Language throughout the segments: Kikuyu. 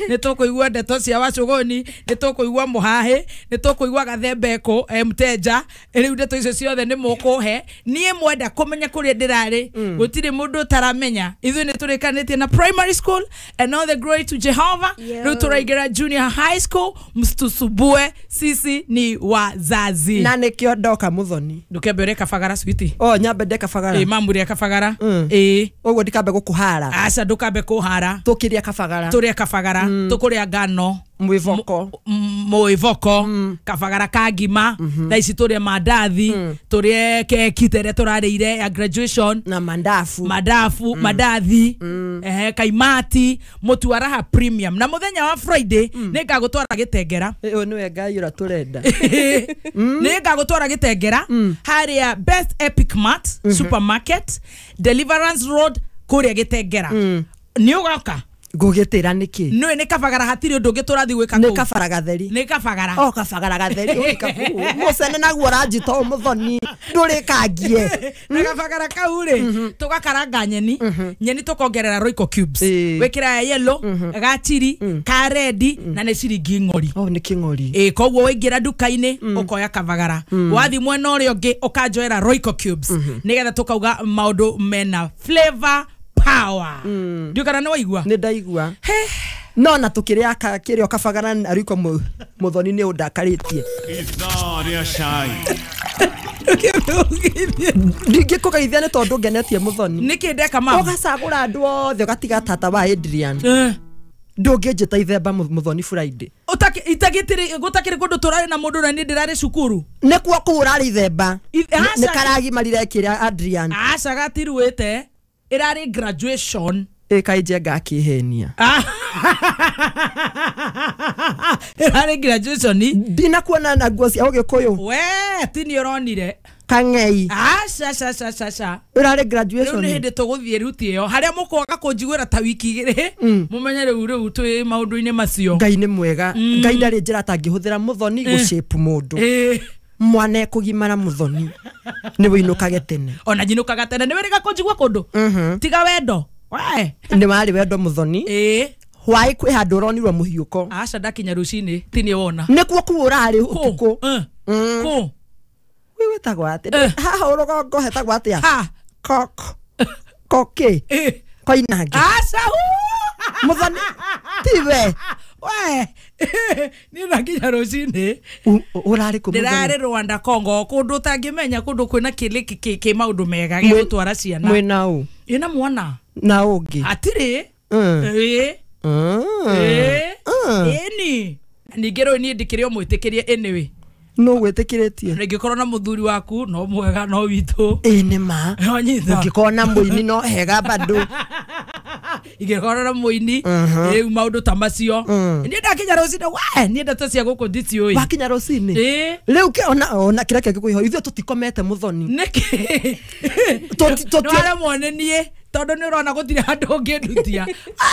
Nĩ tũkũigua ndeto cia Wacũgũni, nĩ tũkũigua mũhahĩ, nĩ tũkũigua gathembeko mteja. Rĩu ndeto icio ciothe nĩ mũkũhe. Niĩ mwenda kũmenya kũrĩa ndĩrarĩ, gũtirĩ mũndũ ũtaramenya. Ithuĩ nĩ tũrĩkanĩtie na primary school and all the glory to Jehovah. Rĩu tũraingĩra junior high school, mstusubue, sisi ni wazazi. Na nĩkĩo ndoka Muthoni. Ndũkembe ũrĩe kabagara switi. O nyambe ndĩe kabagara. Ĩ mamu rĩa kabagara. Ĩ ũguo ndikambe gũkũhara. Aca ndũkambe kũhara. Tũkĩrĩa kabagara. Tũrĩe kabagara. Tũkũrĩa ngano. Mwĩvoko. Mwĩvoko. Kabagara ka ngima. Thaa ici tũrĩe mandathi. Tũrĩe keki ta ĩrĩa tũrarĩire ya graduation. Na mandafu. Mandafu, mandathi. Kaimati, mũtu wa Raha Premium. Na mũthenya wa Friday nĩ ngagũtwara Gĩtengera. Ũyũ nĩwe Ngai ũrĩa tũrenda. Nĩ ngagũtwara Gĩtengera harĩa Best Epic Mart Supermarket, Deliverance Road kũrĩa Gĩtengera. Nĩ ũgoka? Ngũgĩtĩra nĩkĩ? Nĩũĩ nĩ kabagara hatirĩ ũndũ ũngĩ tũrathiĩ gwĩka Nĩ kũu. kabara gatheri. Nĩ kabagara. O kabagara gatheri. Oi kabu. Mũcene naguo ũranjita ũũ Muthoni. Ndũrĩkangie. Na kabagara kau rĩ, tũgakaranga nyeni. Nyeni tũkongerera Royco cubes. Wĩkĩra ya yellow, ga chili, ka red na nĩ ciringi ng'ori. Oh nĩ kĩng'ori. Ĩ koguo waingĩra nduka-inĩ ũkoya kabagara. Wathiĩ mwena ũrĩa ũngĩ ũkanjoera Royco cubes. Nĩgetha tũkauga maũndũ mena flavor power. Ndiũĩ kana nĩ waigua? Nĩ ndaigua. No na tũkĩrĩa kĩrĩa kabagara na Royco Muthoni nĩ ũndakarĩtie. Ithaa rĩa cai. Ndingĩkũgeithia nĩ tondũ ngenetie Muthoni. Nĩkĩ ndeka mama? Ũgacagũra andũ othe ũgatiga tata wa Adrian. Ndũngĩnjĩta ithemba Muthoni Friday. Gũtakĩrĩ kũndũ tũrarĩ na mũndũ na niĩ ndĩrarĩ cukuru. Nĩkuo kũu ũrarĩ ithemba. Nĩ karagimarire kĩrĩa Adrian. Aca gatiruĩte. Ĩrarĩ graduation. Ĩ kaĩ Njenga akĩhenia. Ĩrarĩ graduation. Ndinakuona na nguo cia Ũgĩkũyũ. We ti nĩ ũronire. Kang'ei. Aca aca aca aca. Ĩrarĩ graduation. Rĩu nĩ hĩndĩ tũgũthiĩ ruti ĩyo harĩa mũkwaga kũnjiguĩra ta wiki igĩrĩ. Mũmenye rĩu twĩ maũndũ-inĩ macio. Ngai nĩ mwega. Ngai ndarĩ njĩra atangĩhũthĩra Muthoni gũshape mũndũ. Mwana ekũgimara Muthoni nĩ wĩinũkage tene. Ona njinũkaga tene. Nĩ wĩrĩga kũnjigua kũndũ? Tiga wendo. We. Nĩ warĩ wendo Muthoni. Hwaĩ kwĩ handũ ũronirwo mũhiũko. Aca ndakinya rũcinĩ ti nĩ wona. Nĩkuo kũu ũrarĩ ũtukũ. Kũ? Wĩ wĩtagwo atĩa? Haha ũrũgongo hetagwo atĩa? Kok. Kokĩ. Koinange. Aca Muthoni tiwe. We. Niĩ ndakinya rũcinĩ. Ũrarĩ kũ Muthoni? Ndĩrarĩ Rwanda Congo kũndũ ũtangĩmenya kũndũ kwĩna kĩlĩki kĩ maũndũ mega gĩa gũtwara ciana. Mwĩna ũ? Ĩna mwana. Na ũngĩ? Hatirĩ. Ĩ. Ĩni. Ningĩ rĩu niĩ ndikĩrĩ o mwĩtĩkĩrie anyway. No gwĩtĩkĩrĩtie. Rĩngĩkorwo na mũthuri waku no mwega no witũ. Ĩ nĩ ma. Wanyita. Ũngĩkorwo na mũini no hega bado. Ingĩkorwo na mũini rĩu maũndũ ta macio. Niĩ ndakinya rũcinĩ we niĩ ndeto cia gũkũ ndiciũĩ. Wakinya rũcinĩ? Ĩ. Rĩu ona kĩrĩa kĩngĩkũiho ithuĩ tũtikomete Muthoni. Nĩkĩ? Nĩwaremwo nĩ niĩ tondũ nĩ ũrona gũtirĩ handũ ũngĩndutia.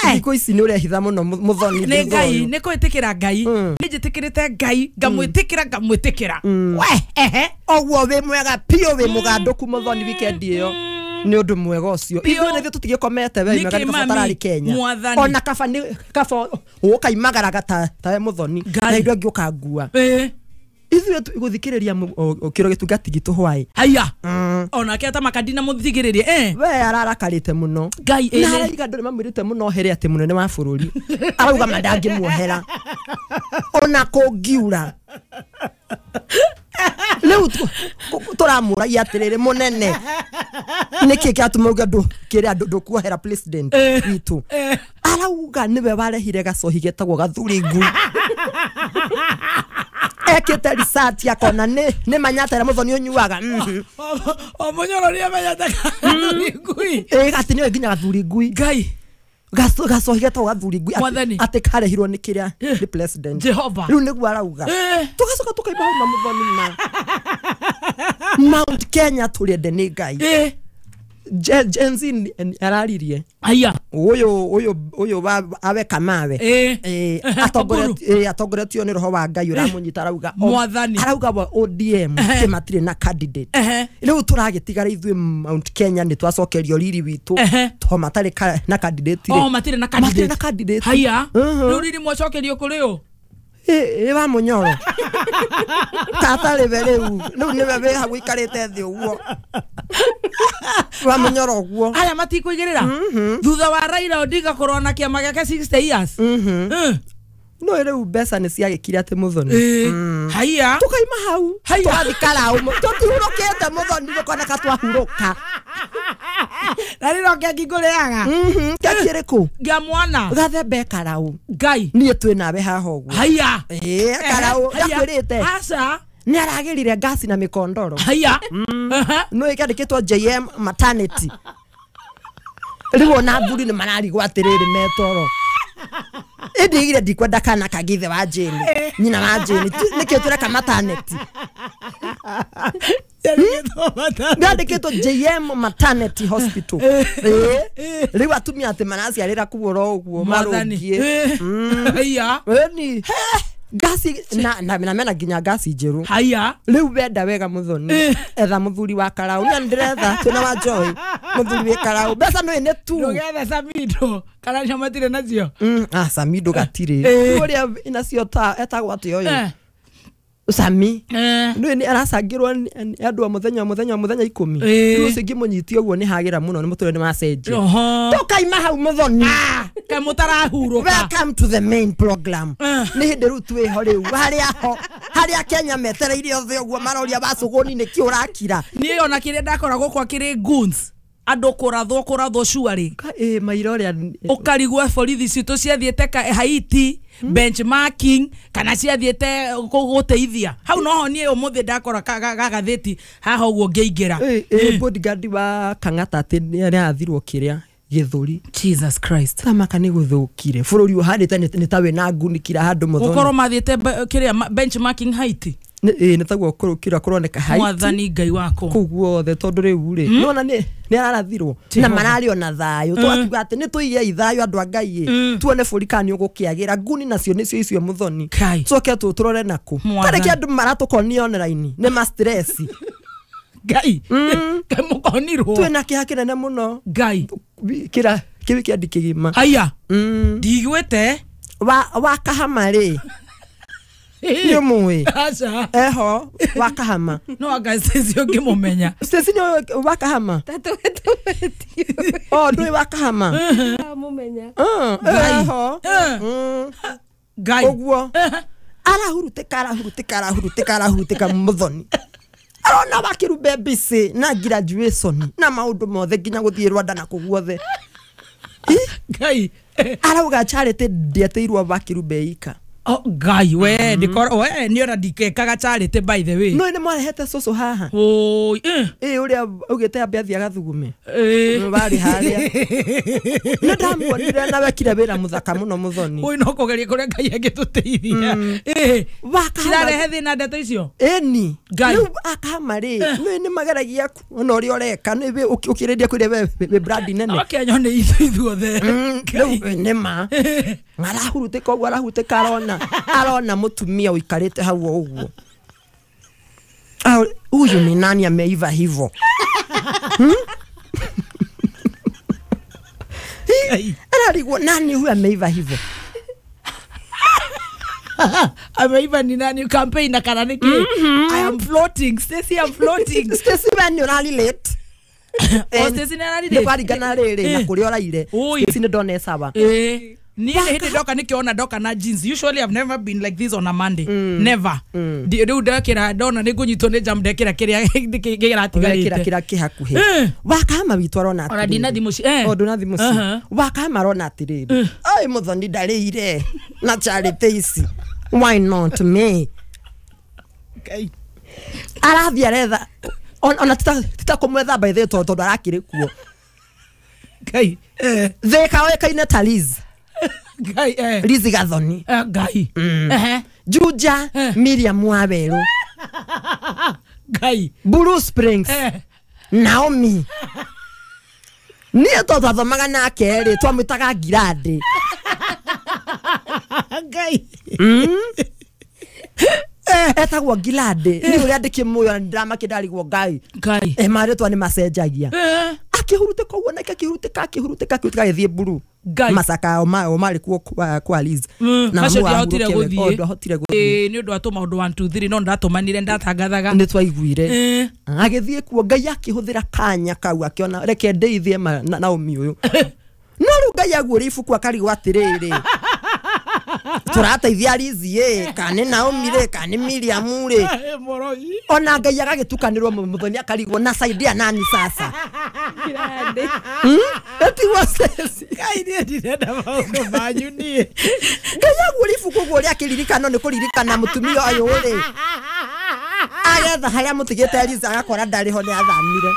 Thikũ ici nĩ ũrehitha mũno Muthoni. Nĩ Ngai, nĩ kwĩtĩkĩra Ngai. Nĩ njĩtĩkĩrĩte Ngai, ngamwĩtĩkĩra ngamwĩtĩkĩra. We ehe. Ũguo wĩ mwega biũ wĩ mũgandũku Muthoni weekend ĩyo. Nĩ ũndũ mwega ũcio. Ithuĩ nĩ ithuĩ tũtigĩkomete we Nĩkĩ mega nĩ mami? kaba tararĩ Kenya. Mwathani. Ona kaba nĩ kaba ũkaimagaraga ta we Muthoni. Na ithuĩ angĩ ũkangua. Ithuĩ gũthikĩrĩria kĩro gĩtungati gitũ hwaĩ. Haya. Onake ata makadina mũthikĩrĩrie. We ararakarĩte mũno. Ngai Na ĩrĩ. araiga andũ nĩmamwĩrĩte mũno ohere atĩ mũnene wa bũrũri. Arauga ma ndangĩmuohera. Ona kũngiura. Rĩu tũramũragia atĩrĩrĩ mũnene. Nĩkĩ kĩratũma uge kĩrĩa ndũkuohera president witũ? Arauga nĩwe warehire gacohi getagwo gathuri ngui. Ekĩte research akona nĩ Manyata ĩrĩa Muthoni ũnyuaga. O Mũnyoro nĩ amenyete gathuri ngui. Ĩ atĩ nĩwe nginya gathuri ngui. Ngai. Gacohi getagwo gathuri ngui Mwathani. atĩ karehirwo nĩ kĩrĩa nĩ president. Jehova. Rĩu nĩguo arauga. Tũgacoka tũkaimba hau na Muthoni ma Mount Kenya tũrĩende nĩ Ngai. Gen Z araririe Aya. Uyu awe kamawe atongoretio ni roho wa Ngai uramunyita arauga Mwathani arauga wa ODM kimatire na candidate riu turagitigara ithuĩ Mount Kenya ni twacokerio riri witu to matari na candidate ri. Oh, matire na candidate. Matire na candidate. Haya riu riri mwacokerio kuri u wa Munyoro tata riwe riu riu niwe wi hau ikarite thi uguo wa Munyoro uguo aya matikuigirira thutha wa Raila Odinga korwo na kiama giake 60 years. No riu mbeca ni ciagikire ati Muthoni. Haya tukaima hau twathikara tutihurukite Muthoni gukoneka twahuruka na riro keki nguriaga keki iriku ngia mwana gathembe karau Ngai nie twi nawe haha uguo. Haya karau ndakwirite aca ni aragirire ngasi na mikondoro. Haya no ikandikitwo JM maternity riu ona athuri ni mararigwo atiriri metoro indi ire ndikwenda kana kagithe wa Jane nyina wa Jane nikio tureka maternity ndandikitwo JM maternity hospital. Riu atumia ati maraciarira kuo uguo marungie. Haya ni gasi na mena nginya gasi njeru. Haya riu wenda wega Muthoni etha muthuri wa karau na ndiretha twina wa Joy muthuri wa karau mbeca no ine tu ndugethe Samido kana cio matire nacio. Samido gatire uria inacio ta etagwo ati oyo Sami ndu ni aracangirwo ni andu a muthenya muthenya muthenya 10 riu ucio ngimunyitie uguo ni hagira muno ni muture ni wacenjia tukaima hau Muthoni ka mutarahuruka. Welcome to the main program. Ni hindi riu twiho riu haria ho haria Kenya metereire othe uguo maroria wacuguni ni ki urakira ni ona kiria ndakora gukwa kiri goons andu kurathwo shuari maira uria ukarigwo borithi citu ciathiete Haiti benchmarking kana ciathiete guteithia hau noho nie umuthi ndakora gagatheti haha uguo ngeingira bodyguard wa Kang'ata ati ni arathirwo kiria githuri. Jesus Christ tamaka ni guthukire bururi uhandite ni tawe na ngunikira handu Muthoni gukorwo mathiete kiria benchmarking Haiti ni taguo kurukira kuroneka Haiti. Mwathani Ngai wako kuu guothe tondu riu ri nona ni ararathirwo na marari ona thayo twakiuga ati ni tuige ithayo andu a Ngai tuone buri kana ni ugukiagira nguni nacio nicio icio Muthoni coke tu turore naku tareke andu maratukonia online ni ma stress Ngai mukonirwo twina kiha kinene muno Ngai kira kiwi kiendi kigima. Haya ndigwite wa Kahama ri ni mui aca eho wa Kahama no anga Stacy ngimumenya. Stacy ni wa Kahama oh ndui wa Kahama mumenya eho Ngai uguo arahurutika arahurutika arahurutika arahurutika Muthoni arona wakirumbe busy na graduation na maundu mothe nginya guthie Rwanda na kuguothe. Ngai arauga charity ndieteirwo wakirumbe ika. Oh Ngai we ndikoro we ni ora ndikekaga charity by the way. No ni mwarehete cucu haha. Oi uria ugite ambe athie agathugume. Bari haria. Ni ndamuonire na wekire wira muthaka muno Muthoni. Oi no kugeria kuria Ngai angituteithia. Cirarehe thina ndeto icio. Eni. Riu akama ri ni mageragia ona uria ureka ni ukiriria kuria we brand nene. Okay nyone ithuothe. Riu ni ma. Arahurutika uguo arahurutika arona arona mutumia uikarite hau uguo. Huyu ni nani ameiva hivo? Ararigwo nani huyu ameiva hivo? Ameiva ni nani campaign na kana niki? I am floating Stacy, I am floating. Stacy we ni urari late. Oh Stacy ni arari late. Ni kwaringana riri na kuria uraire. Stacy ni ndone sawa. Ni hindi ndoka nikiona ndoka na jeans. Usually I've never been like this on a Monday. Never. Riu ndekira ndona ni ngunyitwo ni jam ndekira kiria kiratigarite. Kira kihakuhi. Wakama witu arona atiri. Ona ndina thimu ci. O nduna thimu ci. Wakama arona atiriri. Ai Muthoni ndarĩire na charity ici. Why not me? Ngai. Arathi aretha ona titakumwetha by the tondu arakiri kuo. Ngai. Thika oĩkaine ta Liz. Ngai Liz Gathoni. Ngai. Juja Miriam Waweru. Ngai. Blue Springs. Naomi. Niĩ to twathomaga nake rĩ twamwĩtaga Ngirandi. Ngai. Etagwo Ngirandi. Ni ũrĩa ndĩkĩmũĩ ona ndĩramakĩndarigwo Ngai. Ngai. Marĩtwa nĩ macenjagia. Akĩhurutĩka ũguo nake akĩhurutĩka akĩhurutĩka akĩhurutĩka agĩthiĩ mburu. Ngai. Masaka o marĩ kuo kwa Liz. Na macio ndiahotire gũthiĩ. Ndahotire gũthiĩ. Nĩ ũndũ wa tũmaũndũ 1 2 3 no ndatũmanire ndatangathaga. Nĩ twaiguire. Agĩthiĩ kuo Ngai akĩhũthĩra kanya kau akĩona reke ndeithie Naomi ũyũ. No rĩu Ngai aguũria ibuku akarigwo atĩrĩrĩ. Tũrateithia Liz ĩ kana nĩ Naomi rĩ kana nĩ Miriam rĩ. Ona Ngai agagĩtukanĩrwo mũthoni akarigwo na saidia nani sasa. Eti wasesi. Ngai niĩ ndirenda maũndũ manyu niĩ. Ngai aguũria ibuku ũguo ũrĩa akĩririkana nĩ kũririkana mũtumia ũyũ rĩ. Agetha harĩa mũtigĩte Liz agakora ndarĩ ho nĩ athamire.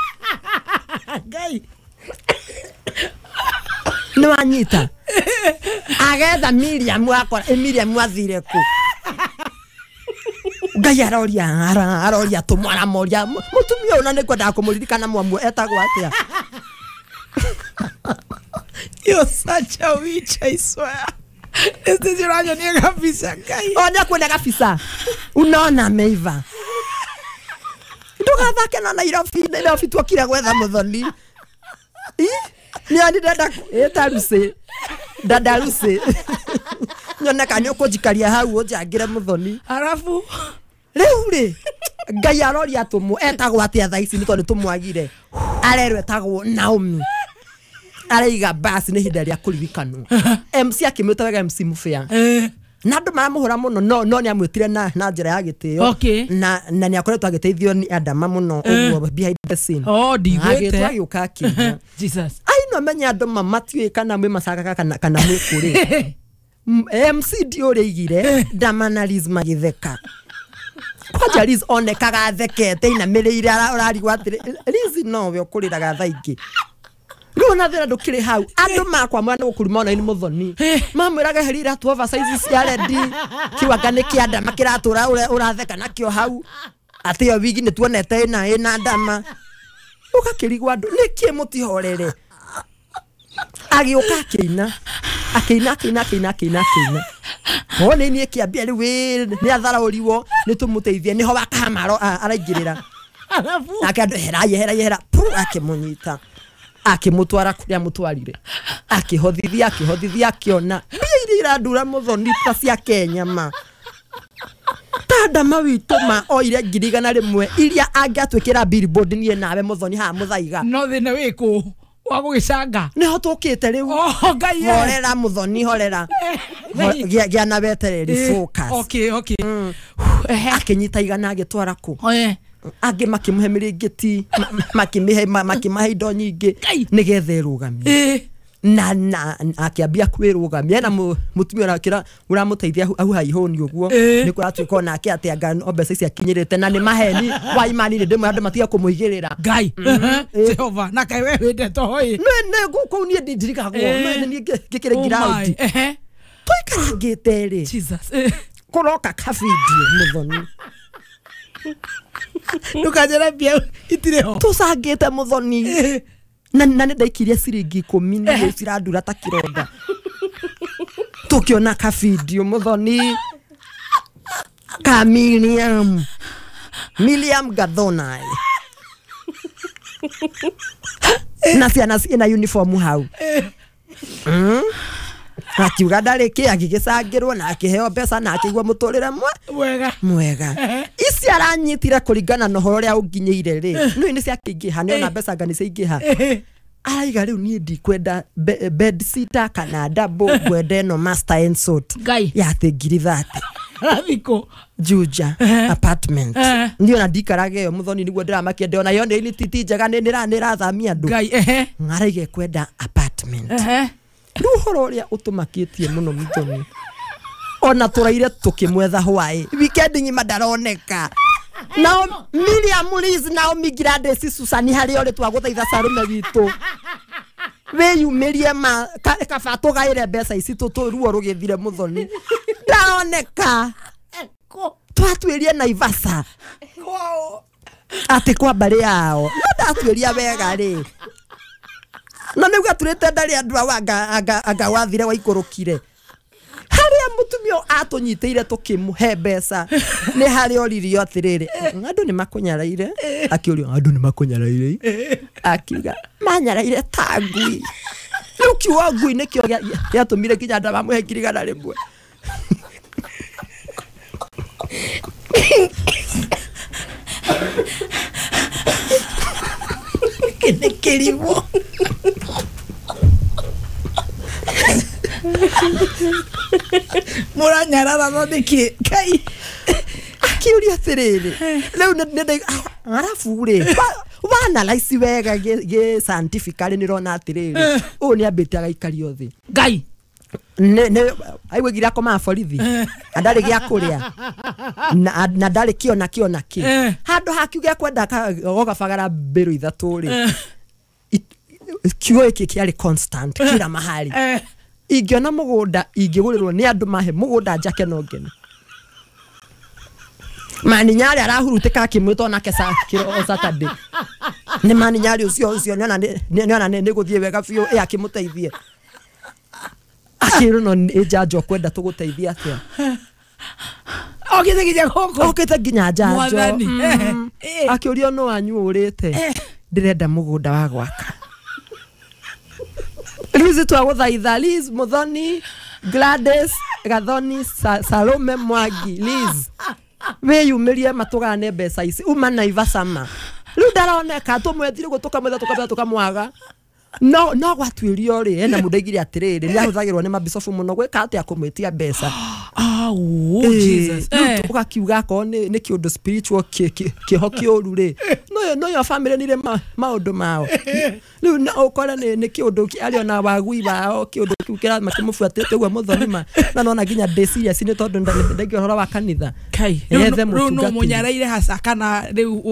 Ngai. Nĩ wanyita. Agetha Miriam akora Miriam athire kũ. Ngai aroria aroria tũmwaramoria mũtumia ũyũ na nĩ kwendaga kũmũririkana mwamu etagwo atĩa. You're such a witch, I swear. This is your kabisa Ngai. Ona kuona kabisa. Unaona ameiva. Ndugathake na Nairobi, Nairobi twokire gwetha muthoni. Ni ani dada eta Lucy. Dada Lucy. Nyona kana ũkũnjikaria hau ũnjangĩre muthoni. Arafu rĩu rĩ Ngai aroria tũmũ etagwo atĩa thaa ici nĩ tondũ tũmwagire. Arerwo etagwo Naomi. Araiga basi nĩ ihinda rĩa kũririkanwo. MC akĩmwĩta wega MC Mubea. Na andũ maramũhũra mũno no nĩ amwĩtire na njĩra ya gĩtĩo. Na nĩ akoretwo agĩteithio nĩ Adama mũno ũguo behind the scene. Oh, ndigwĩte. Agĩũka akĩina. Jesus. Ai no menya andũ matiũĩ kana mwĩ macakaga kana mwĩ kũrĩ. MC ndiũrĩa aigire Dama na Liz magĩtheka. Kwanja Liz onekaga athekete inamĩrĩire ũrarigwo atĩrĩ Liz nowe ũkũrĩraga thaa ingĩ. Rĩu ona thĩna ndũkĩrĩ hau andũ makwa mwana gũkuruma ona nĩ mũthoni mamwĩraga heri iratũ oversize cia rendi kiwanga nĩ kĩa Adama kĩratũra ũratheka nakĩo hau atĩ ĩyo wigi nĩ tuonete ĩna Adama ũgakĩrigwo andũ nĩkĩ mũtihorere. Agĩũka akĩina akĩina akĩina akĩina akĩina akĩina o nĩ niĩ kĩambia rĩu nĩ atharaũriwo nĩ tũmũteithie nĩho wakahama araingĩrĩra. Nake andũ hera hera hera pu akĩmũnyita akĩmũtwara kũrĩa mũtwarire akĩhothithia akĩhothithia akĩona mbia iria irandura mũthoni ta cia Kenya ma ta Adama witũ ma oire 100,000 iria angĩatwĩkĩra billboard niĩ nawe mũthoni haha mũthaiga. No thĩna wĩkũ wa gũgĩcanga nĩho tũkĩte rĩu. Oh Ngai horera mũthoni horera gĩa na wetereri focus. Okay okay. Akĩnyita 100 agĩtwara kũ angĩ makĩmũhe mĩrĩngĩti makĩmĩhe makĩmahe indo nyingĩ nĩgetha ĩrũgamie na akĩambia kwĩrũgamia na mũtumia ũrakĩra ũramũteithia au haihũni ũguo nĩ kũratuĩka onake atĩ anga no mbeca ici akinyĩrĩte na nĩ maheni wa imani nĩ ndĩmwe andũ matiga kũmũigĩrĩra. Ngai Jehova na kaĩ we wendete hoi nĩ kũu niĩ ndirikagwo niĩ ngĩkĩrĩ ngiraundi tũikarangĩte rĩ Jesus kũroka kabidio mũthoni ndukanjĩre mbia itirĩ ho tũcangĩte mũthoni na nĩ ndaikirie ciringi 10 nĩ cirandura ta kĩronda tũkĩona kabidio mũthoni ka Miriam Gathonai na ciana ciĩna uniform hau akiuga ndarĩ kĩ agĩgĩcangĩrwo na akĩheo mbeca na akĩigua mũtũrĩre mwega mwega. Ici aranyitire kũringana na ũhoro ũrĩa ũnginyĩire rĩ nĩ nĩ ciakĩingĩha nĩ ona mbeca anga nĩ ciaingĩha. Araiga rĩu niĩ ndikwenda bed sitter kana double ngwenda ĩno master and suite ya atĩ 30,000. Rathiko Juja apartment niĩ ona ndikaraga ĩyo mũthoni nĩguo ndĩramakia ndĩona yo nĩ ti njega nĩ nĩrathamia andũ. Ngai araiga kwenda apartment. Rĩu ũhoro ũrĩa ũtũmakĩtie mũno mũthoni ona tũraire tũkĩmwetha hwaĩ weekend ng'ima ndaroneka. Nao Miriam Liz Naomi Gladys Susan harĩa ũrĩ twagũthaitha Sarume witũ wĩyumĩrie ma kaba tũgaĩre mbeca ici ruo rũgĩthire mũthoni ndaroneka. Twatuĩrie Naivasha atĩ kwa mbarĩ yao no ndatuĩria wega rĩ Na nĩ gaturĩte ndarĩ andũ awa anga wathire waikũrũkire. Harĩa mũtumia atũnyitĩire tũkĩmũhe mbeca nĩ harĩa oririo atĩrĩrĩ, andũ nĩ makũnyaraire. Akĩũrio andũ nĩ makũnyaraire, akiuga manyaraire ta ngui. Rĩu kiugo ngui nĩkĩo gĩatũmire nginya andũ mamũhe 100,000. Nĩ kĩrimũ. Mũranyarara no nĩkĩ Ngai? Akiũria atĩrĩrĩ, rĩu nĩ arabu rĩ wanalyze wega gĩ scientifically nĩrona atĩrĩrĩ, ũyũ nĩ ambĩte agaikario thĩ. Ngai nĩ aigua akomaga borithi na ndarĩ gĩa kũrĩa na ndarĩ kĩo na kĩo na kĩ. Handũ ha kiugo gĩa kwenda gũgabagara mbĩrũ ithatũ rĩ, kiugo gĩkĩ kĩarĩ constant kila mahali. Ingĩona mũgũnda ingĩgũrĩrwo nĩ andũ mahe mũgũnda njake no ngene. Maninyari arahurutĩka akĩmwĩta onake o Saturday. Nĩ maninyari ũcio ũcio nĩona nĩ gũthiĩ wega biũ ĩ akĩmũteithie. Akĩrwo no nĩ njanjo kwenda tũgũteithia atĩa. Okĩte nginya gũkũ. Okĩte nginya njanjo. Akĩũrio no wanyu ũrĩte. Ndĩrenda mũgũnda wa gwaka. Liz twagũthaitha, Liz Muthoni, Gladys Gathoni, Salome Mwangi, Liz wĩyumĩrie matũgane mbeca ici uma Naivasama. Rĩu ndaroneka tũmwethire ũguo tũkamwetha tũkamwetha tũkamwaga. No no gwatuĩrio rĩ, hena mũndũ aigire atĩrĩrĩ, nĩ ahũthagĩrwo nĩ mabicobu mũno gwĩka atĩa kũmwĩtia mbeca. Oh, Jesus. Ũgakiuga akorwo nĩ kĩũndũ spiritual kĩho kĩũru rĩ, no yo family nĩrĩ maũndũ mao. Rĩu ũkore nĩ kĩũndũ arĩ ona wagui wao kĩũndũ kĩu kĩmakĩmũbuatĩte ũguo mũthoni na nona nginya ndĩ serious nĩ tondũ ndaigua ũhoro wa kanitha. Kai, rĩu no mũnyaraire haca kana rĩu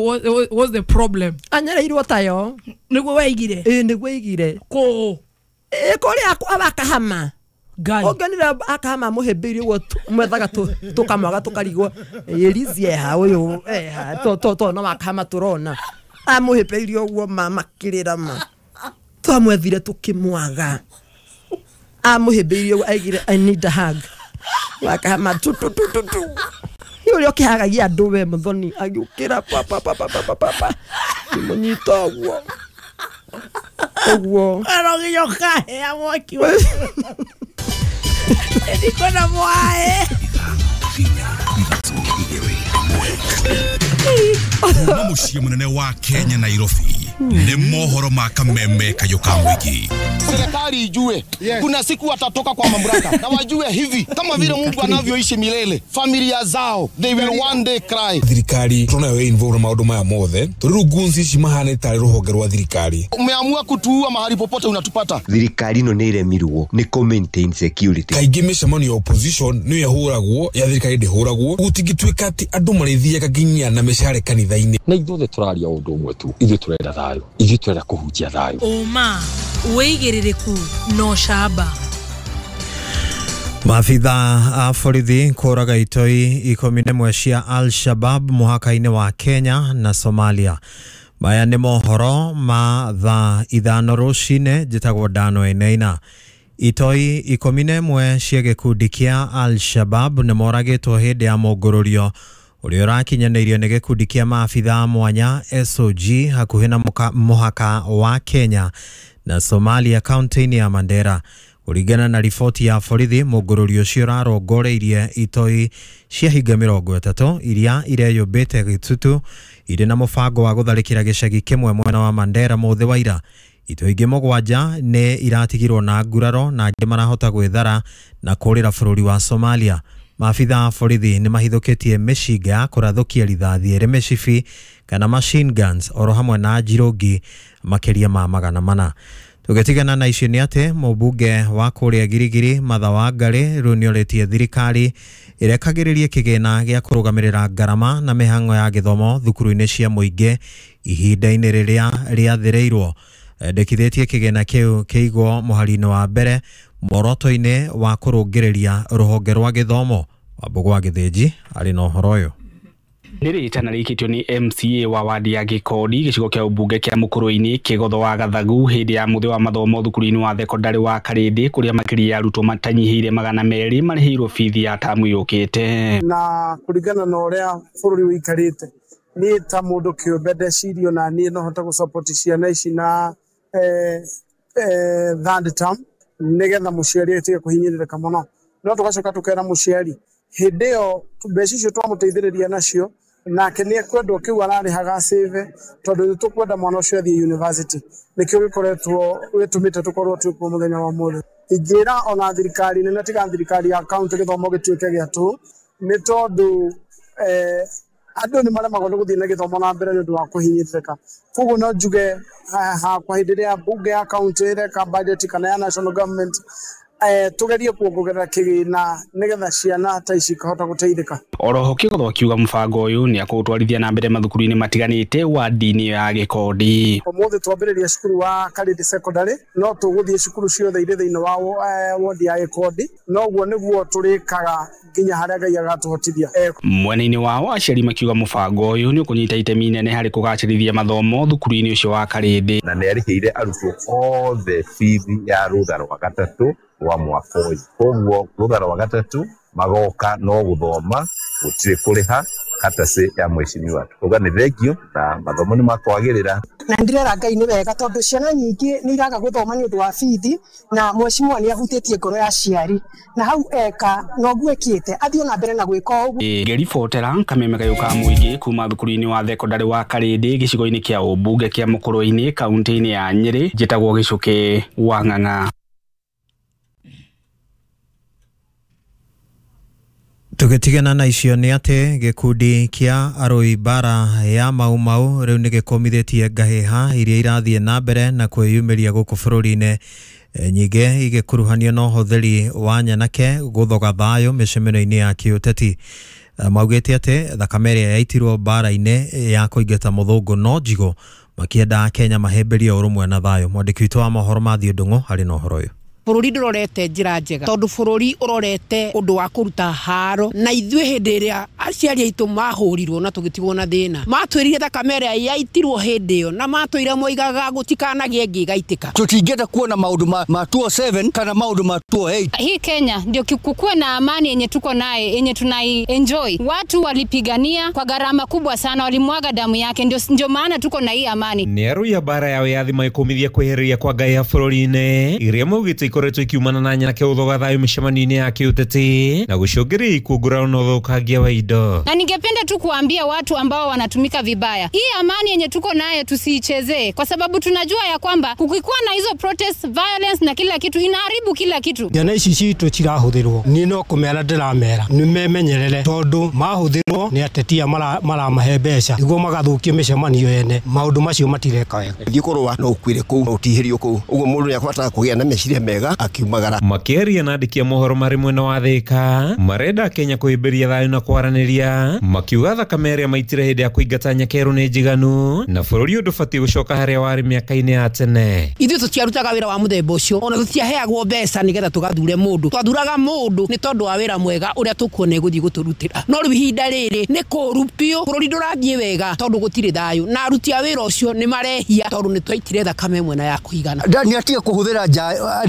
what's the problem? Anyarairwo tayo. Nĩguo waigire? Ĩĩ nĩguo aigire. Kũ? Ĩ kũrĩa akahama. Ũngĩonire akahama mũhĩmbĩirie ũguo mwethaga tũkamwaga tũkarigwo ĩrizie ha ũyũ eha to no akahama tũrona amũhĩmbĩirie ũguo makĩrĩra ma twamwethire tũkĩmwaga amũhĩmbĩirie ũguo aigire I need a hug wakahama tu tu tu tu tu ũrĩa ũkĩhagagia andũ we Muthoni agĩũkĩra pa pa pa pa pa pa pa kĩmũnyita ũguo ũguo aroginya ũkahea mwaki ndikona mwae. Kuma mũciĩ mũnene wa Kenya Nairobi nĩ mohoro ma kameme kayũ ka mũingĩ. Serikali ijue kuna siku watatoka kwa mamlaka na wajue hivi kama vile Mungu anavyoishi milele, familia zao they will one day cry. Thirikari tunayo involve maundu maya mothe turi gunzi ici mahane tari ruhonge rwa thirikari. Umeamua kutuua mahali popote unatupata. Thirikari no nĩ iremirwo nĩ ku maintain security. Kaingĩ mĩcemanio ya opposition nĩ yahũragwo ya thirikari ndĩhũragwo gũtingĩtuĩka atĩ andũ marĩthiaga nginya na mĩcare kanitha-inĩ. Na ithuothe tũraria ũndũ ũmwe tu, ithuĩ tũrenda thayũ, ithuĩ tũrenda kũhunjia thayũ. Ũma wĩigĩrĩrĩku no camba. Maabitha a borithi kũraga itoi 11 cia Al-Shabab mũhaka-inĩ wa Kenya na Somalia. Maya nĩ mohoro ma thaa 5 rũcinĩ. Njĩtagwo Dano Eneina. Itoi 11 cia gĩkundi kĩa Al-Shabab nĩ moragĩtwo hĩndĩ ya mũngũrũrio ũrĩa ũrakinyanĩirio nĩ gĩkundi kĩa maabitha mwanya SOG hakuhĩ na mũhaka wa Kenya na Somalia kaunti-inĩ ya Mandera. Kũringana na riboti ya borithi, mũngũrũrio ũcio ũrarongoreirie itoi cia hinga 30 iria ireyũmbĩte gĩtutu irĩ na mũbango wa gũtharĩkĩra gĩcagi kĩmwe mwena wa Mandera mũthĩ wa ira. Itoi ingĩ 7 nĩ iratigirwo na nguraro na angĩ marahota gwĩthara na kũrĩra bũrũri wa Somalia. Maabitha a borithi nĩ mahithũkĩtie mĩcinga ya kũrathũkia rithathi ĩrĩ mĩcibi kana machine guns oro hamwe na njirũngi makĩria ma 400. Tũgĩtigana na icio nĩ atĩ mũmbunge wa kũrĩa Girigiri Martha Wangari rĩu nĩorĩtie thirikari ĩrekagĩrĩrie kĩgĩna gĩa kũrũgamĩrĩra ngarama na mĩhang'o ya gĩthomo thukuru-inĩ cia mũingĩ ihinda-inĩ rĩrĩa rĩathĩrĩirwo. Endekithĩtie kĩgĩna kĩu kĩigwo mũhari-inĩ wa mbere muoroto-inĩ wa kũrũngĩrĩria rũhonge rwa gĩthomo. Wambũgũ wa Gĩthĩnji arĩ na ũhoro ũyũ. Nĩ rĩtana rĩikĩtio nĩ MCA wa wadi ya Gĩkondi gĩcigo kĩa ũmbunge kĩa Mũkũrũ-inĩ Kĩgotho wa Gathagu hĩndĩ ya mũthĩ wa mathomo thukuru-inĩ wa thekondarĩ wa Karĩndĩ kũrĩa makĩria ya arutwo matanyihĩire 200 marĩhĩirwo bithi ya tamu yũkĩte. Na kũringana na ũrĩa bũrũri ũikarĩte, niĩ ta mũndũ kĩũmbe ndecirio na niĩ no hote gũsupport ciana ici na third term nĩgetha mũciari atige kũhinyĩrĩrĩka mũno. No tũgacoka tũkera mũciari hĩndĩ ĩyo mbeca icio twamũteithĩrĩria nacio nake nĩ ekwendwo kĩu ararĩhaga save tondũ nĩ tũkwenda mwana ũcio athiĩ university. Nĩkĩo gĩkoretwo gĩtũmĩte tũkorwo twĩ kuo mũthenya wa ũmũthĩ. Ingĩra ona thirikari nene tiga thirikari ya county gĩthomo gĩtuĩke gĩa tũhũ nĩ tondũ andũ nĩ maremagwo nĩ gũthiĩ na gĩthomo na mbere nĩ ũndũ wa kũhinyĩrĩrĩka. Koguo no njuge hakwa hĩndĩ ĩrĩa mbunge ya county ĩreka budget kana ya national government tugerie kuongerera kĩgĩna nĩgetha ciana ta ici ikahota gũteithĩka. Oroho Kĩgotho akiuga mũbango ũyũ nĩ akũũtwarithia na mbere mathukuru-inĩ matiganĩte wadi-inĩ ya Gĩkondi. Ũmũthĩ twambĩrĩria cukuru wa Karĩndĩ Secondary, no tũgũthiĩ cukuru ciothe irĩ thĩinĩ wa wodi ya Gĩkondi, noguo nĩguo tũrĩkaga nginya harĩa Ngai agatũhotithia. Mwena-inĩ wao aciari makiuga mũbango ũyũ nĩ ũkũnyita itemi inene harĩ kũgacĩrithia mathomo thukuru-inĩ ũcio wa Karĩndĩ. Na nĩ arĩhĩire arutwo othe bithi ya rũtha rwa gatatũ wa mwaka ũyũ. Koguo rũtha rwa gatatũ magoka no gũthoma gũtirĩ kũrĩha katacĩ ya mheshimiwa. Tukuga nĩ thengio na mathomo nĩ makwagĩrĩra. Na ndirera Ngai nĩ wega tondũ ciana nyingĩ nĩ iraga gũthoma nĩ ũndũ wa bithi na mheshimiwa nĩ ahutĩtie ngoro ya aciari na hau eka noguo ekĩte athiĩ na mbere na gwĩka ũguo. Ngĩribotera Kameme Kayũ ka Mũingĩ kuma thukuru-inĩ wa thekondarĩ wa Karĩndĩ gĩcigo-inĩ kĩa ũmbunge kĩa Mũkũrũ-inĩ kaunti-inĩ ya Nyĩrĩ, njĩtagwo Gĩcũkĩ wa Ng'ang'a. Tũgĩtigana na icio nĩ atĩ gĩkundi kĩa arũi mbara ya Mau Mau rĩu nĩ gĩkũmithĩtie ngahĩha iria irathiĩ na mbere na kwĩyumĩria gũkũ bũrũri-inĩ, nyingĩ igĩkuruhanio na ũhũthĩri wa nyanake gũthoga thayũ mĩcemanio-inĩ ya kĩũteti. Maugĩte atĩ thakame ĩrĩa yaitirwo mbara-inĩ ya kũingata mũthũngũ no njigũ, makĩenda Kenya mahĩmbĩrie ũrũmwe na thayũ. Mwandĩki witũ wa mohoro Matthew Ndung'u arĩ na ũhoro ũyũ. Bũrũri ndũrorete njĩra njega tondũ bũrũri ũrorete ũndũ wa kũruta haro na ithuĩ hĩndĩ ĩrĩa aciari aitũ mahũrirwo na tũgĩtigwo na thĩna matwĩrire thakame ĩrĩa yaitirwo hĩndĩ ĩyo na matwĩire moigaga gũtikanagĩe ĩngĩ ĩgaitĩka. Tũtingĩenda kuona maũndũ ma 207 kana maũndũ ma 208. Hii Kenya ndio kukuwe na amani yenye tuko naye yenye tunai enjoy. Watu walipigania kwa gharama kubwa sana, walimwaga damu yake, ndio maana tuko na hii amani. Nĩ arũi a mbara ya wĩyathi maĩkũmithia kwĩhereria kwa ngai ya bũrũri-inĩ iria maugĩte ikoretwo ikiumana na nyanake gũthoga thayũ mĩcemanio-inĩ ya kĩũteti na gũcũngĩrĩria ikuũ na ũthũkangia wa indo. Na ningependa tu kuambia watu ambao wanatumika vibaya, hii amani yenye tuko nayo tusiichezee, kwa sababu tunajua ya kwamba kukikuwa na hizo protest, violence na kila kitu inaharibu kila kitu. Ciana ici citũ cirahũthĩrwo niĩ no kũmera ndĩramera nĩ memenyerere tondũ mahũthĩrwo nĩ atetia maramahe mbeca nĩguo magathũkie mĩcemanio yene. Maũndũ macio matireka wega. Thiĩ kũrũa no ũkuĩre kũu ũtihĩrio kũu, ũguo mũndũ nĩakũbatara kũgĩa na meciria mega akiumagara. Makĩaria na andĩki a mohoro marĩ mwena wa Thĩka marenda Kenya kũhĩmbĩria thayũ na kwaranĩria, makiuga thakame ĩrĩa maitire hĩndĩ ya kũingata nyakerũ nĩ njiganu na bũrũri ũyũ ndũbatiĩ gũcoka harĩa warĩ mĩaka-inĩ ya tene. Ithuĩ tũtiarutaga wĩra wa mũthemba ũcio, ona tũtiaheagwo mbeca nĩgetha tũgathure mũndũ. Twathuraga mũndũ nĩ tondũ wa wĩra mwega ũrĩa tũkuona ĩgũthiĩ gũtũrutĩra. No rĩu ihinda rĩrĩ nĩ kũũru biũ, bũrũri ndũrathiĩ wega tondũ gũtirĩ thayũ na aruti a wĩra ũcio nĩ marehia tondũ nĩ twaitire thakame ĩmwe na ya kũigana. Nĩ atige kũhũthĩra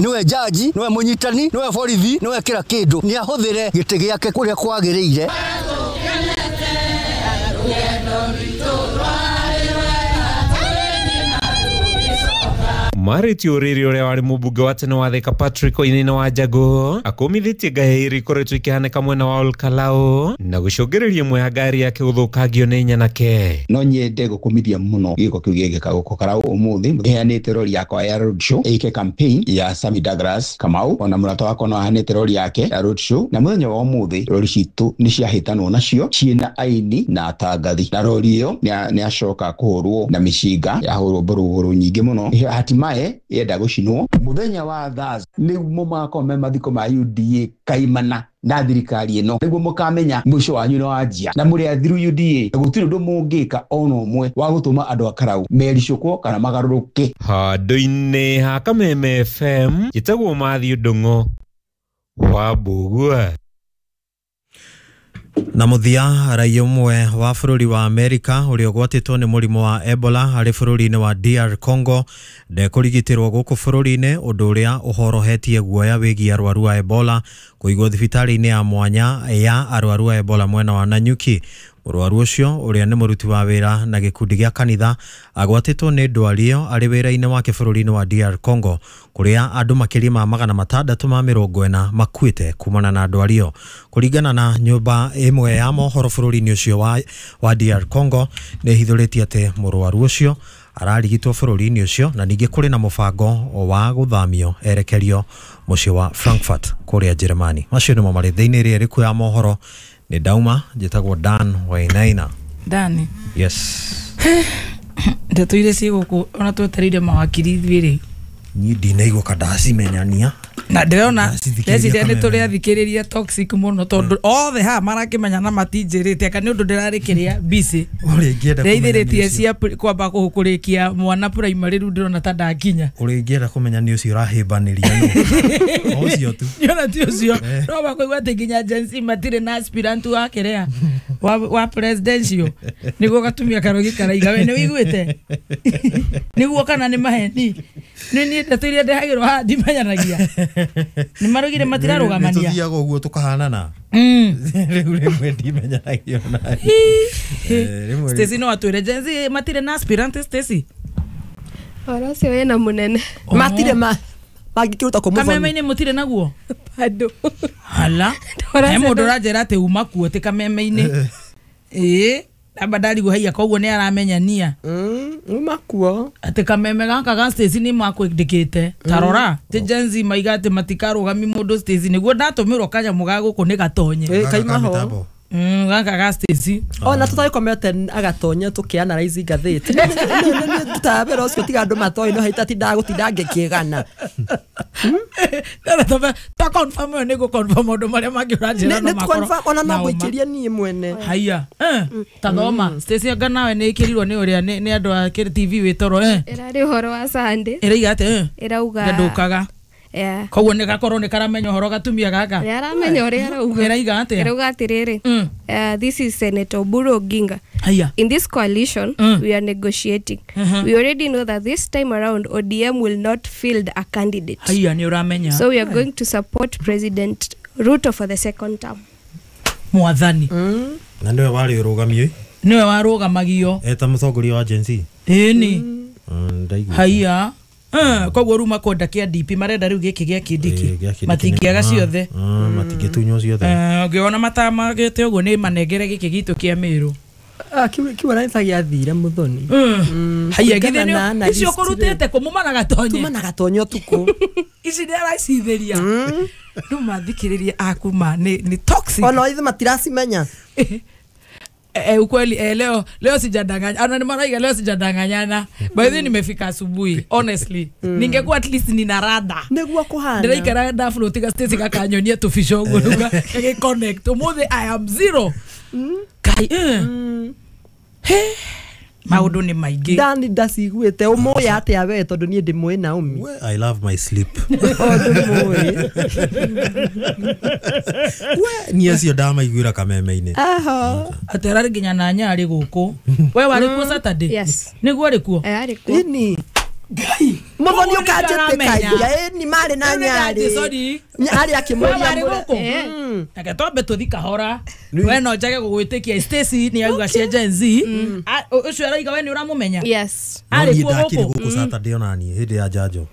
niwe jaji, niwe mũnyitani, niwe borithi, niwe kĩra kĩndũ, nĩ ahũthĩre gĩtĩ gĩake kũrĩa kwagĩrĩire. Marĩtie ũrĩrĩ ũrĩa warĩ mũmbunge wa tene wa Thĩka Patrick Wainaina wa Njangũ akũmithĩtie ngahĩha iria ikoretwo ikĩhanĩka mwena wa Olkalau na gũcũngĩrĩria ĩmwe ya ngari yake gũthũkangio nĩ nyanake. No nyende gũkũmithia mũno gĩko kĩu gĩgĩka gũkũ Karau ũmũthĩ. Heanĩte rori yakwa ya road show ĩke campaign ya Sammy Douglas Kamau, ona mũrata wakwa no aheanĩte rori yake ya road show, na mũthenya wa ũmũthĩ rori citũ nĩ ciahĩtanwo nacio ciĩna aini na atangathi, na rori ĩyo nĩ acoka kũhũrwo na mĩcinga, yahũrwo mborogoro nyingĩ mũno, hatimaye yenda gũcinwo. Mũthenya wa Thursday nĩguo magakorwo me mathiko ma UDA kaimana na thirikari ĩno, nĩguo mũkamenya mũico wanyu nĩ wanjia na mũrĩ athiru UDA, gũtirĩ ũndũ mũngĩka ona ũmwe wa gũtũma andũ a Karau mericũkwo kana magarũrũke. Handũ-inĩ ha Kameme FM njĩtagwo Matthew Ndung'u wa Mbũgua. Na mũthia, raia ũmwe wa bũrũri wa Amerika ũrĩa ũgwatĩtwo nĩ mũrimũ wa Ebola arĩ bũrũri-inĩ wa DR Congo ndekũrigitĩrwo gũkũ bũrũri-inĩ, ũndũ ũrĩa ũhorohetie guoya wĩgiĩ arwaru a Ebola kũigwo thibitarĩ-inĩ ya mwanya ya arwaru a Ebola mwena wa Nanyuki. Mũrwaru ũcio ũrĩa nĩ mũruti wa wĩra na gĩkundi gĩa kanitha agwatĩtwo nĩ ndwari ĩyo arĩ wĩra-inĩ wake bũrũri-inĩ wa DR Congo, kũrĩa andũ makĩria ma 640 makuĩte kumana na ndwari ĩyo. Kũringana na nyũmba ĩmwe ya mohoro bũrũri-inĩ ũcio wa DR Congo, nĩ ĩhithũrĩtie atĩ mũrwaru ũcio ararigitwo bũrũri-inĩ ũcio na ningĩ kũrĩ na mũbango wa gũthamio erekerio mũciĩ wa Frankfurt kũrĩa Njĩrĩmani. Macio nĩmo marĩ thĩinĩ ĩrĩa ĩrĩkuo ya mohoro. Nĩ ndauma, njĩtagwo Dan Wainaina. Dani. Yes. Ndeto iria ciĩ gũkũ ona twetereire mawakiri ithuĩ rĩ. Niĩ ndinaigua ka ndacimenyania. Na ndĩrona ndeciria nĩ tũrĩ athikĩrĩria toxic mũno tondũ othe haha marakĩmenya na matinjĩrĩte aka nĩ ũndũ ndĩrarĩ kĩrĩa busy. Ũrĩa ingĩenda kũmenya nĩ Ndeithĩrĩtie ũcio. cia kwamba kũrĩkia mwana primary rĩu ndĩrona ta ndakinya. Ũrĩa ingĩenda kũmenya nĩ ũcio ũrahĩmbanĩria nũ. O ũcio tu. Nĩona ti ũcio. No makũigua atĩ nginya Gen Z matirĩ na aspirant wa kĩrĩa wa presidential nĩguo gatumia karogi karaiga we nĩ wĩiguĩte nĩguo kana nĩ maheni. Nĩ niĩ ndeto iria ndehagĩrwo haha ndimenyanagia. Nĩ marugire matirarũgamania. Nĩ tũthiaga ũguo tũkahanana. Rĩu rĩmwe ndimenyanagia ona. Rĩmwe Stacy no atwĩre Gen Z matirĩ na aspirant. Stacy Ũhoro ũcio wĩna mũnene. Matirĩ ma mangĩkĩruta kũ mũthoni. Kameme-inĩ mũtirĩ naguo? Bado. Hala. He mũndũ ũranjĩra atĩ uma kuo ti kameme-inĩ. Ĩĩ amba ndarigwo haiya koguo nĩ aramenyania. Uma kuo. Atĩ kameme gaka ga Stacy nĩ makwĩndĩkĩte. Ta rora ti Gen Z maiga atĩ matikarũgami mũndũ Stacy nĩguo ndatũmĩrwo kanyamũ ga gũkũ nĩ gatonye. Kaima ho. Gaka ga Stacy. Ona tũtagĩkomete agatonye tũkĩanalyze ngathĩti. Tũtabera ũcio tiga andũ matoĩ no haitatindaga gũtinda ngĩkĩgana. Ta confirm ĩyo nĩ gũ confirm maũndũ marĩa mangĩ ũranjĩra no Nĩ makorwo confirm ona no na ũma. ngũikĩrie niĩ mwene. Haiya. Ta thoma Stacy anga nawe nĩ ĩkĩrirwo nĩ ũrĩa nĩ andũ a TV wĩ toro. Ĩrarĩ ũhoro wa Sunday. Ĩraiga atĩ Ĩrauga. Ndũkaga. Yeah. Koguo nĩ gakorwo nĩ karamenya ũhoro gatumia gaka. Nĩ aramenya ũrĩa arauga. Ĩraiga atĩa? Ĩrauga atĩrĩrĩ. This is Senator Oburu Oginga. Haiya. In this coalition, we are negotiating. We already know that this time around ODM will not field a candidate. Haiya nĩ ũramenya. So we are going to support President Ruto for the second term. Mwathani. Na nĩwe warĩ ũrũgamio. Nĩwe warũgamagio. Eta mũtongoria wa Gen Z. Ĩni. Ndaiguĩte. Haiya. Koguo rĩu makwenda kĩa DP marenda rĩu gĩkĩ gĩa Kindiki. Gĩa Kindiki Matingĩaga ciothe. Matingĩtunywo ciothe. Ũngĩona matamagĩte ũguo nĩ manengere gĩkĩ gitũ kĩa Mĩrũ. Kiu aranyita gĩathire mũthoni. Haiya githĩ nĩ icio ũkũrutĩte kũ mumana gatonye. Tumana gatonye ũtukũ. Ici nĩ aracithĩria. Rĩu mathikĩrĩria aku ma nĩ toxic. Ona ithuĩ matiracimenya. Ukweli leo sijadanganya. Ana ni maraiga leo sijadanganyana. By the way nimefika asubuhi honestly. Ningekuwa at least nina rada. Nĩguo kũhana. Ndĩraikara ndafloat ga Stacy gakanyonia tũbica ũguo rĩu gagĩ connect. Ũmũthĩ I am zero. Kai. He. Maũndũ nĩ maingĩ. Dani ndaciguĩte ũmũĩ atĩa we tondũ niĩ ndĩmũĩ Naomi. I love my sleep. Ndĩmũĩ. We niĩ acio ndamaiguĩra kameme-inĩ. Aho. Atĩ ararĩ nginya na nyarĩ gũkũ. We warĩ kuo Saturday? Yes. Nĩguo arĩ kuo? Arĩ kuo. Ĩni. Mũthoni ũkanjĩtĩkagia ĩni marĩ na nyarĩ. Sorry. Nyarĩ akĩmũria Warĩ gũkũ? Reke twambe tũthi kahora. We no njage gũgwĩtĩkia Stacy nĩ auga cia Gen Z. Ũcio araiga we nĩ ũramũmenya? Yes. No Arĩ niĩ kuo ndakĩrĩ gũkũ? gũkũ Saturday ona niĩ hĩndĩ ya njanjo.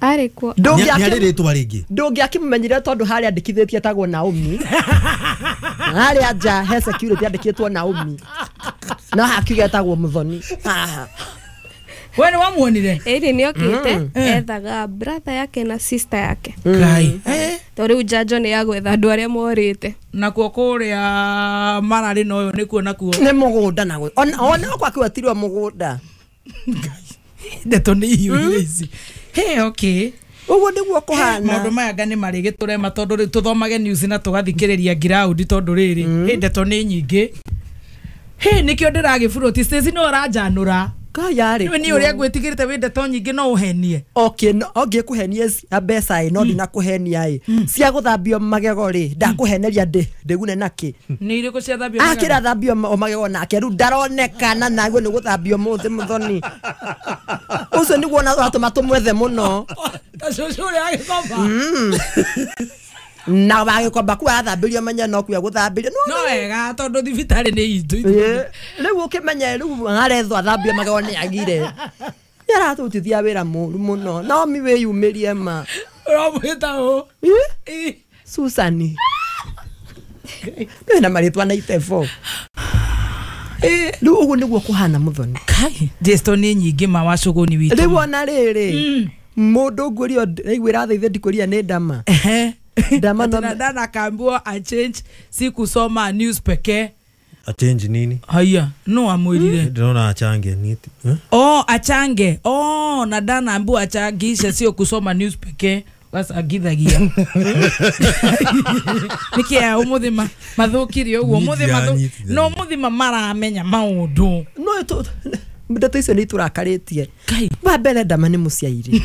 Arĩ kuo. Nĩ arĩ rĩtwa rĩngĩ. Ndũngĩakĩmũmenyire tondũ harĩa andĩkithĩtie etagwo Naomi. Harĩa nja he security andĩkĩtwo Naomi. No hakiuga etagwo Mũthoni. Haha. We nĩ wamuonire? Ĩni nĩ okĩte ethaga brother yake na sister yake. Ngai. To rĩu njanjo nĩ ya gwetha andũ arĩa morĩte. Nakuo kũrĩa mararĩ na ũyũ nĩkuo nakuo. Nĩ mũgũnda naguo. Ona gwakĩwetirwo mũgũnda. Ndeto nĩ ihiũire ici. Hey, okay. Ũguo nĩguo kũhana. Maũndũ maya nga nĩ marĩgĩtũrema tondũ rĩu tũthomage news na tũgathikĩrĩria ground tondũ rĩrĩ hĩ ndeto nĩ nyingĩ. Hĩ nĩkĩo ndĩragĩburoti Stacy no ũranjanũra. Kayarĩ Nĩ ũrĩa ngwĩtigĩrĩte wĩ ndeto nyingĩ no ũhenie. Okay, no ngĩkũhenie cia mbeca ĩ no ndinakũhenia ĩ cia gũthambio magego rĩ ndakũheneria ndĩgune nakĩ. Nĩ irĩkũ cia thambio magego? Akĩrathambio magego nake rĩu ndaronekana naguo nĩ gũthambio mũthĩ mũthoni ũcio nĩguo ona watũma tũmwethe mũno. Ta cũcũ ũrĩa agĩkomba. Na wagĩkomba ku athambĩrio menye no kuya gũthambĩrio no wega tondũ thibitarĩ nĩ itũ. Rĩu ũkĩmenye rĩu arethwo athambio magego nĩ agire nĩ aratũrutithia wĩra mũru mũno. Naomi wĩyumĩrie ma. Ũramwĩta ũ? Susani. Nĩ na marĩtwa na itebo. Rĩu ũguo nĩguo kũhana mũthoni. Kai Jesto nĩ nyingĩ ma wacũgũni witũ. Rĩu ona rĩrĩ mũndũ ngũrio ndaiguĩra thaithe ndikũria nĩ ndama. Ndama dana kaambiwa a change si kusoma news pekee. A change nini? Haya, no amwirire. Ndona achange niti. Oh, achange. Oh, na dana ambiwa achangishe sio kusoma news pekee. Bas agithagia. Niki ya umuthi mathukirie uguo umuthi no umuthi maramenya maundu. No ndeto icio nĩ itũrakarĩtie. Wa mbere ndama nĩ mũciairi.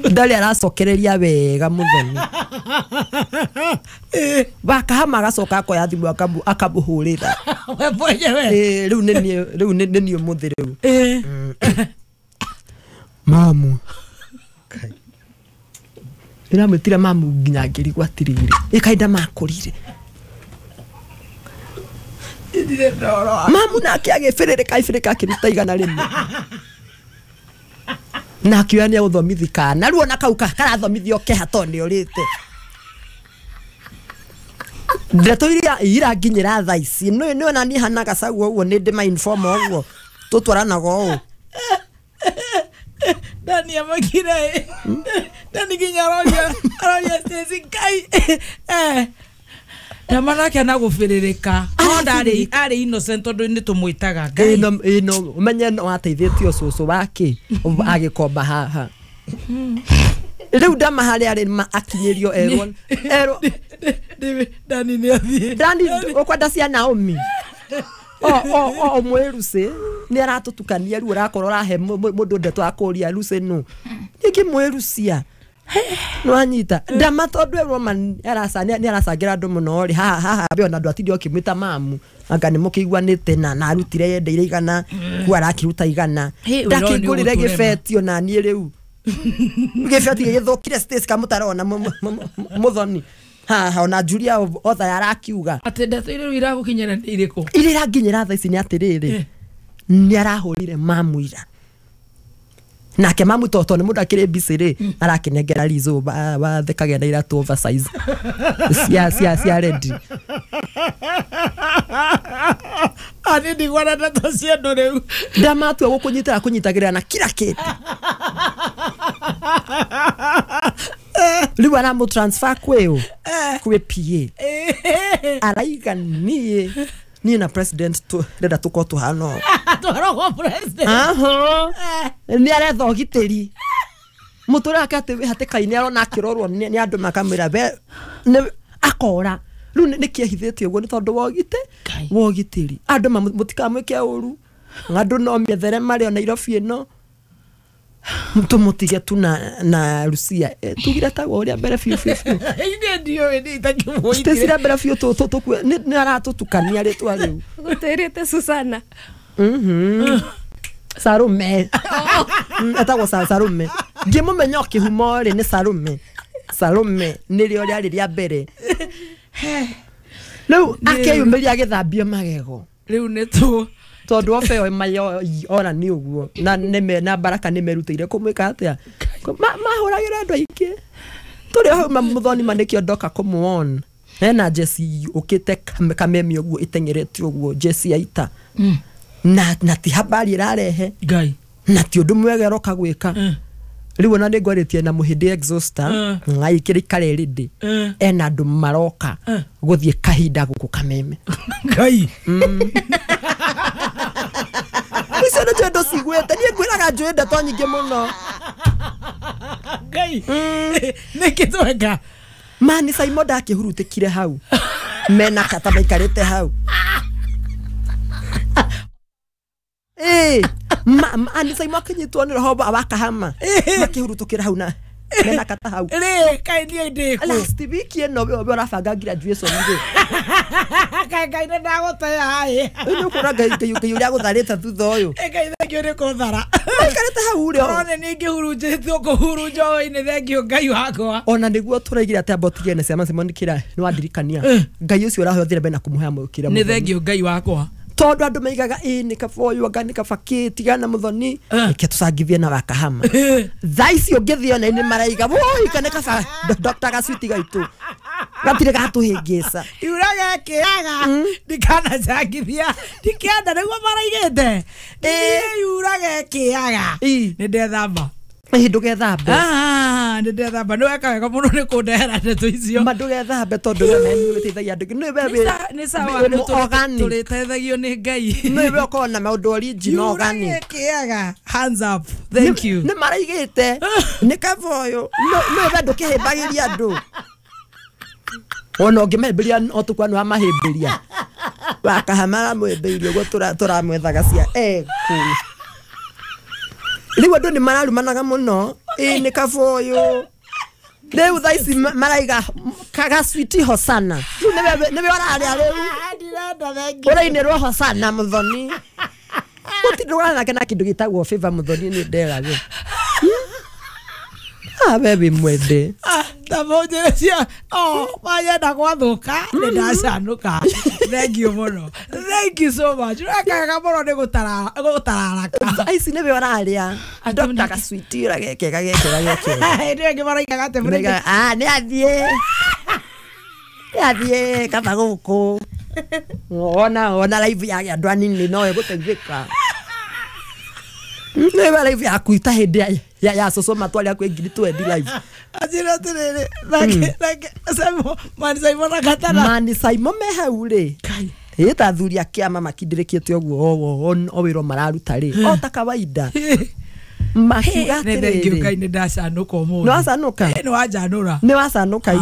Ndarĩ aracokereria wega mũthoni. Wakahama agacoka akoya thimũ akamũhũrĩra. We mwenyewe. Rĩu nĩ niĩ rĩu nĩ niĩ ũmũthĩ rĩu. Mamu. Ndĩramwĩtire mamu nginya ngĩrigwo atĩrĩrĩ. Ĩ kaĩ ndamakũrire. Mamu nake agĩbĩrĩrĩka ibĩrĩka akĩruta 100. Na akiuga nĩ egũthomithi kana rĩu ona kau karathomithio keha tondũ nĩ ũrĩte. Ndeto iria iranginyĩra thaa ici nĩ ona niĩ hana gacau ũguo nĩ ndĩ ma inform ũguo tũtwaranaga ũũ. Dani amakire. Dani nginya aroria Stacy Ngai. Ndama nake anagũbĩrĩrĩka. No ndarĩ arĩ innocent tondũ nĩ tũmwĩtaga Ngai. Ĩno ũmenye no ateithĩtio cũcũ wake agĩkomba haha. Rĩu ndama harĩa arĩ ma akinyĩrio erwo erwo Dani nĩ athiĩ. Dani ũkwenda cia Naomi. O mwĩrucĩ nĩ aratũtukania rĩu ũrakorwo ũrahe mũndũ ndeto akũria Lucy nũ. Ningĩ mwĩrucia. Nwanyita ndama tondũ erwo ma nĩ aracangĩra andũ mũno rĩ haha haha be ona andũ atinde ũkĩmwĩta mamu anga nĩ mũkĩiguanĩte na arutire yendeire 100 ku arakĩruta 100 ndakĩngũrĩre gĩbetio na niĩ rĩu gĩbeti gĩgĩthũkire Stacy kamũtarona mũthoni haha ona Julia otha arakiuga atĩ ndeto iria rĩu iragũkinyĩra nĩ irĩkũ? Iria iranginyĩra thaa ici nĩ atĩrĩrĩ nĩ arahũrire mamu ira nake mamu toto nĩ mũndũ akĩrĩ busy rĩ arakĩnengera Lizo wathekagia na iratũ oversize cia ready. Ani ndigwana ndeto cia andũ rĩu. Ndamatua gũkũnyitĩra kũnyitagĩrĩra na kila kĩndũ. Rĩu aramũ transfer kwĩ kwĩ PA. Araiga niĩ na president ndĩrenda tũkorwo tũhana ũũ. Twarogwo president. Nĩ aretha ũgitĩri. Mũtũrĩre wake atĩ wĩ hatĩka-inĩ arona akĩrorwo nĩ andũ makamwĩra we akora. Rĩu nĩkĩ ehithĩte ũguo nĩ tondũ wa ũgitĩri. Andũ mũtikamwĩke ũru. Andũ no methere marĩ o Nairobi ĩno. Tũmũtige tu na Lucia. Tugire tagwo ũrĩa mbere biũ biũ biũ. Ine ndiũĩ nĩ itakĩmũitire. Stacy rĩa mbere biũ nĩ aratũtukania rĩtwa rĩu. Gũtĩrĩte Susana. Sarume. Etagwo Sarume. Ngĩmũmenya o kĩhumo rĩ nĩ Sarume. Sarume nĩrĩo rĩarĩ rĩa mbere. Rĩu akĩyumĩria agĩthambio magego. Rĩu nĩ tũ tondũ obe o mayo ora nĩ ũguo na nĩme na Baraka nĩ merutĩire kũmwĩka atĩa mahũragĩra andũ aingĩ tũrĩ hau mũthoni ma nĩkĩo ndoka kũmuona hena Jesse ũkĩte kamemi ũguo ĩteng'erete ũguo Jesse ya ita na ti habari ĩrarehe Ngai na ti ũndũ mwega ĩroka gwĩka rĩu ona nĩ ngwarĩtie na mũhĩndĩ exhauster ngaikĩrĩ karĩrĩndĩ ena andũ maroka gũthiĩ kahinda gũkũ kameme Ngai icio nĩ njũĩ ndũciguĩte niĩ ngwĩraga njũĩ ndeto nyingĩ mũno Ngai nĩkĩ tweka mani Simon ndakĩhurutĩkire hau mena kata maikarĩte hau. Anisaimo akinyitwo nĩ roho wa Kahama makĩhurutũkĩra hau na mena kata hau rĩ kaĩ niĩ ndĩ kũ last week ĩno we ũrabanga graduation rĩ kaĩ Ngai nĩ ndagũtea ĩ nĩ ũkuona Ngai ũrĩa agũtharĩte thutha ũyũ Ngai thengio nĩ kũthara maikarĩte hau rĩ Ũrone nĩ ingĩhurunjĩtwo kũhurunja hwainĩ thengio Ngai wakwa ona nĩguo tũraigire atĩ amba ũtige na ciama Simon kĩra nĩ wandirikania Ngai ũcio ũrahothire mbere na kũmũhe kĩrĩa nĩ thengio Ngai wakwa tondu andu maigaga ĩ nĩ kaba ũyũ anga nĩ kaba kĩ tigana Muthoni reke tũcangithie na Wakahama thaa ici ũngĩthiĩ ona nĩ maraiga woi kana kaba Dr. Gacwiti gaitũ gatirĩ gatũhĩngĩca iuraga kĩaga ndikanacangithia ndikenda nĩguo maraigĩte iuraga kĩaga nĩ ndethamba ndũgethambe nĩ ndethamba nĩ weka wega mũno nĩ kũndehera ndeto icio ma ndũgethambe tondũ we nĩ ũrĩteithagia andũ nĩ sawa tũrĩteithagio nĩ Ngai nĩwe ũkorwo na maũndũ original organic kĩaga hands up thank you nĩ maraigĩte nĩ kaba ũyũ nĩwe ndũkĩhĩmbagĩria andũ ona ũngĩmahĩmbĩria o tũkwa nĩ wamahĩmbĩria Wakahama aramwĩmbĩirie ũguo tũramwethaga cia ekũ rĩu andũ nĩ mararumanaga mũno ĩ nĩ kaba ũyũ rĩu thaa ici maraiga Gacwiti hosana rĩu nĩwe ũrarĩa rĩu ũrainĩrwo hosana Muthoni gũtirĩ nake na kĩndũ gĩtagwo favor Muthoni nĩ nderagwo we wĩ mwende tamũnjĩre cia manyenda gwathũka nĩ ndacanũka thengio mũno thank you so much wekaga mũno nĩ gũtararaka thaa ici nĩwe ũrarĩa Dr. Gacwiti ũragekega gekega gekega hĩndĩ ĩyo ĩngĩ maraigaga atĩ nĩ athiĩ kaba gũkũ ona live ya andũ anini no ĩgũteithĩka nĩwe live yaku ita hĩndĩ ya cũcũ matwarĩa kwĩ 20,000 live anjĩra atĩrĩrĩ nake Mani Simon na Katana Mani Simon me hau rĩ ĩ ta athuri a kĩama makindĩrĩkĩte ũguo o wĩra mararuta rĩ o ta kawaida makiuga atĩrĩrĩ Ngai nĩ ndacanũka ũmũthĩ nĩ wacanũka nĩ wanjanũra nĩ wacanũka ii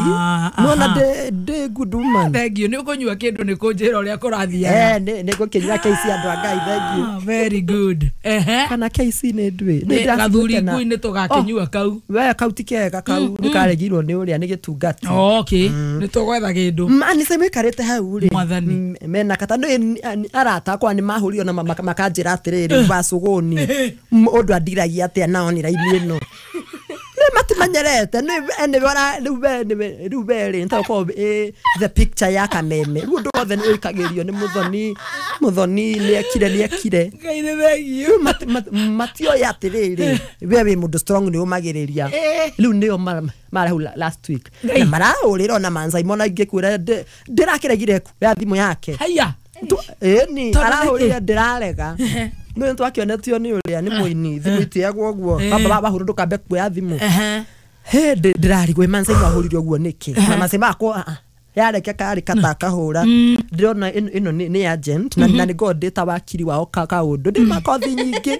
nĩwona ndĩ good woman thengio nĩ ũkũnyua kĩndũ nĩ kũnjĩra ũrĩa kũrathiaga nĩ ngũkĩnyua KC andũ a Ngai thengio very good kana KC nĩ nduĩ gathuri ngui nĩ tũgakĩnyua kau we kau ti kega kau nĩ karegirwo nĩ ũrĩa nĩ gĩtungati okay nĩ tũgwetha kĩndũ Mani Simon ikarĩte hau rĩ Mwathani mena kata nĩ arata akwa nĩ mahũrire na makanjĩra atĩrĩrĩ wacũgũni ũndũ andiragia atia nao ni raini ĩno nĩ matimenyerete rĩu we rĩ nĩtagũkorwo the picture ya kameme rĩu ũndũ wothe nĩ ũikagĩrio nĩ Muthoni nĩ ekire Ngai nĩ thengio matioĩ atĩrĩrĩ we wĩ mũndũ strong nĩ ũmagĩrĩria rĩu nĩo marahau last week na marahũrĩra ona Man Simon ingĩkwĩra ndĩrakĩregire kuoya thimũ yake haya ĩni arahũrĩra ndĩrarega nĩ twakĩonetio nĩ ũrĩa nĩ mũini thimũ itiagwo ũguo baba wahũrwo ndũkambe kuoya thimũ he ndĩrarigwo Man Simon ahũrire ũguo nĩkĩ na Man Simon akwa yareke karĩ kata akahũra ndĩrona ĩno nĩ agent na nĩ ngorwo ndĩ ta wakiri wao kaũndũ ndĩ makothi nyingĩ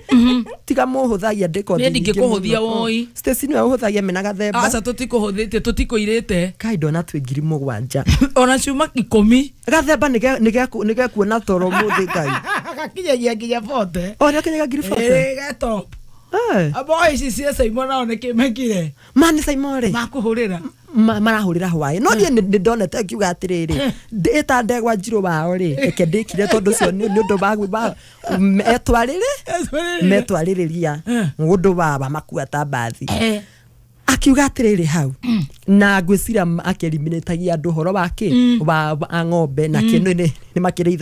tiga mũhũthagia ndĩ kothi nyingĩ ndingĩkũhũthia woi Stacy nĩwe ũhũthagia mena gathemba aca tũtikũhũthĩtie tũtikũirĩte kai ndona twĩ 7,000 ona ciuma 10 gathemba nĩgekuona toro mũthĩ Ngai gakinyagia nginya 40 o nĩgakinyagia 40,000 getop abo ici cia Simon nao nĩkĩ mekire Mani Simon rĩ makũhũrĩra marahũrĩra hwaĩ no niĩ nĩ ndonete ngiuga atĩrĩrĩ ĩta ndegwa njirũ wao rĩ reke ndĩkire tondũ ũcio nĩ ũndũ wa metwarĩrĩria ũndũ wa makua ta mbathi akiuga atĩrĩrĩ hau na ngwĩciria akĩeliminĩtagia andũ ũhoro wa kĩ wa ng'ombe na kĩ nĩ makĩrĩithagia